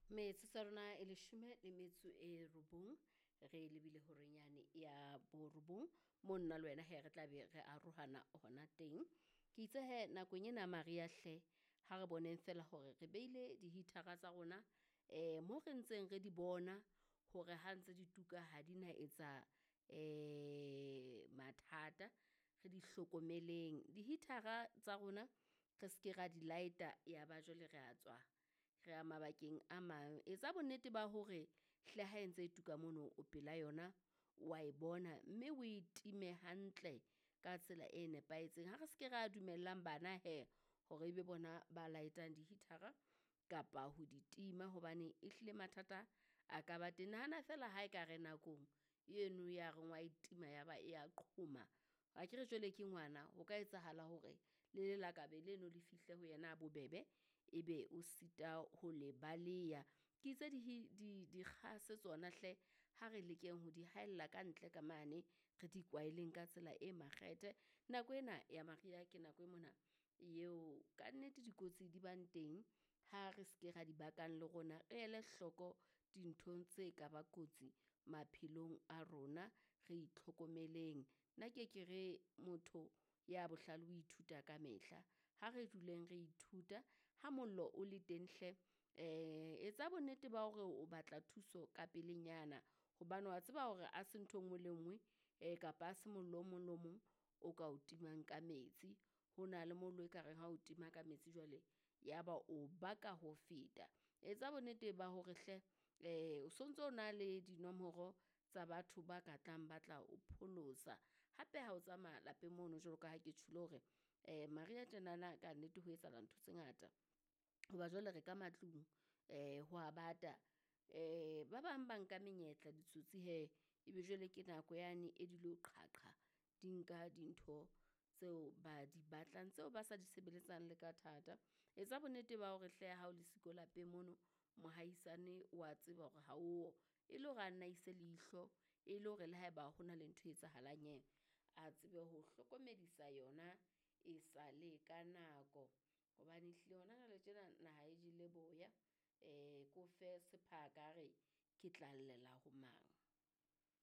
Metsotso ya rona e 19 re lebile horeng yane ya 9 mo nna le wena he re tla be re arohana hona teng. Ke itse he nakong ena mariha hle ha re boneng fela hore re beile di-heater-a tsa rona mo re ntseng re di bona hore ha ntse di tuka ha di na etsa mathata, re di hlokomeleng. Di-heater-a tsa rona re seke ra di light-a ya ba jwale re a tswa re ya mabakeng a mang. Etsa bonnete ba hore hle ha e ntse e tuka mono o pela yona, wa e bona mme o e time hantle ka tsela e nepahetseng. Ha re seke ra dumellang bana he hore ebe bona ba light-ang di-heater-a kapa ho di tima hobane ehlile mathata a ka ba teng. Nahana feela ha e ka re nakong eno ya reng wa e tima ya ba e ya qhoma, akere jwale ke ngwana ho ka etsahala hore le lelakabe leno le fihle ho yena ha bobebe, ebe o sita ho le baleya. Ke itse dikgase tsona hle ha re lekeng ho di haella kantle ka mane, re di kwaeleng ka tsela e makgethe. Nako ena ya mariha ke nako e mona eo kannete dikotsi di bang teng, ha re seke ra di bakang le rona, re ele hloko dinthong tse ka ba kotsi maphelong a rona, re itlhokomeleng. Nna ke ke re motho ya bohlale o ithuta ka mehla, ha re duleng re ithuta ha mollo o le teng hle etsa bonnete ba hore o batla thuso ka pelenyana hobane wa tseba hore a se ntho e nngwe le e nngwe kapa ha se mollo o mong le o mong o ka o timang ka metsi. Ho na le mollo e ka reng ha o tima ka metsi jwale ya ba o baka ho feta. Etsa bonnete ba hore hle o sontso o na le dinomoro tsa batho ba ka tlang ba tla o pholosa. Hape ha o tsamaya lapeng mono jwalo ka ha ke tjholo hore mariha tjenana kannete ho etsahala ntho tse ngata, hoba jwale re ka matlung ho a bata. Ba bang ba nka menyetla ditsotsi hee, ebe jwale ke nako yane e dilo qhaqha, di nka dintho tseo ba di batlang, tseo ba sa di sebeletsang le ka thata. Etsa bonnete ba hore hle ha o le siko lapeng mono, mohaisane wa tseba hore ha oyo, e le hore a nna ise leihlo, e le hore le haeba hona le ntho e etsahalang hee, a tsebe ho hlokomedisa yona e sale ka nako. Hobane ehlile hona jwale tjena naha e jele boya, ke o fe sephaka a re ke tla llela ho mang.